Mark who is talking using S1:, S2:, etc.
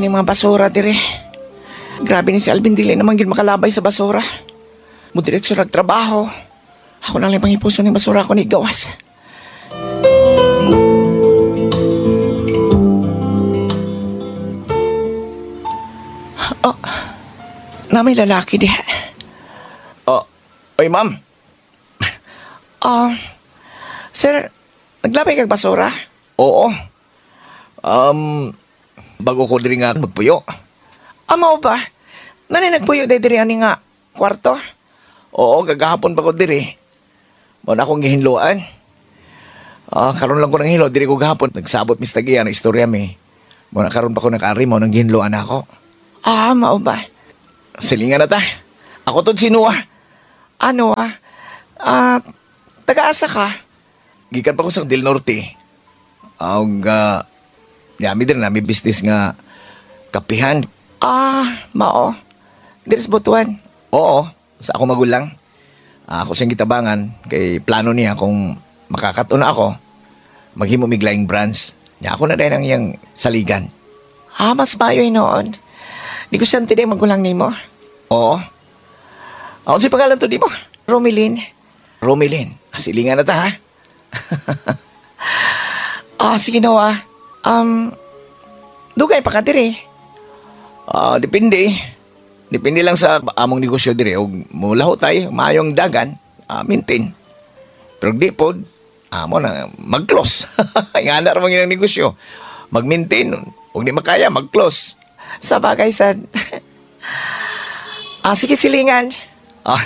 S1: Daghan ni mga basura dire. Grabe ni si Alvin, dili naman gid makalabay sa basura. Mudiretso nagtrabaho. Ako na lang pangipuso ni basura ko ni gawas. Oh, na may lalaki diha.
S2: Oh, oy ma'am.
S1: Ah, sir, naglabay kag basura?
S2: Oo. Bago ko diri nga magpuyo.
S1: Amaw ba? Nanay nagpuyo day diri ani nga kwarto?
S2: Oo, kagahapon pa ko diri. Mao na akong gihinloan. Ah, karon lang ko nang hilo diri ko gahapon. Nagsabot Mr. Gia na istorya mi. Mao na karon pa ko nakaari mo nang gihinloan ako.
S1: Ah, mao ba?
S2: Silingan na ta. Ako tod si Noah.
S1: Ano ah? Ah, taga-asa ka?
S2: Gikan pa ko sa Del Norte. Ang yami din nami business nga kapihan.
S1: Ah, mao. Diri sa Butuan.
S2: Oo, sa ako magulang. Ah, ako siyang gitabangan kay plano niya kung makakato na ako, maghimo mig laing branch. Nya ako na din ang iyang saligan.
S1: Ah, mas maayo noon. Negosyante din magulang nimo.
S2: Oo. Ako si pangalan to di mo?
S1: Romilin.
S2: Romilin. Silingan na ta ha.
S1: Ah, sige Noah. Dugay pa ka diri.
S2: Ah, depende. Depende lang sa among negosyo dire og mulaho tay, maayong dagan, maintain. Pero di pod, amo na mag-close. Ingana ra man ang negosyo. Mag-maintain, ug di makaya mag-close.
S1: Sa bagay sad. Ah, sige silingan.
S2: Ah,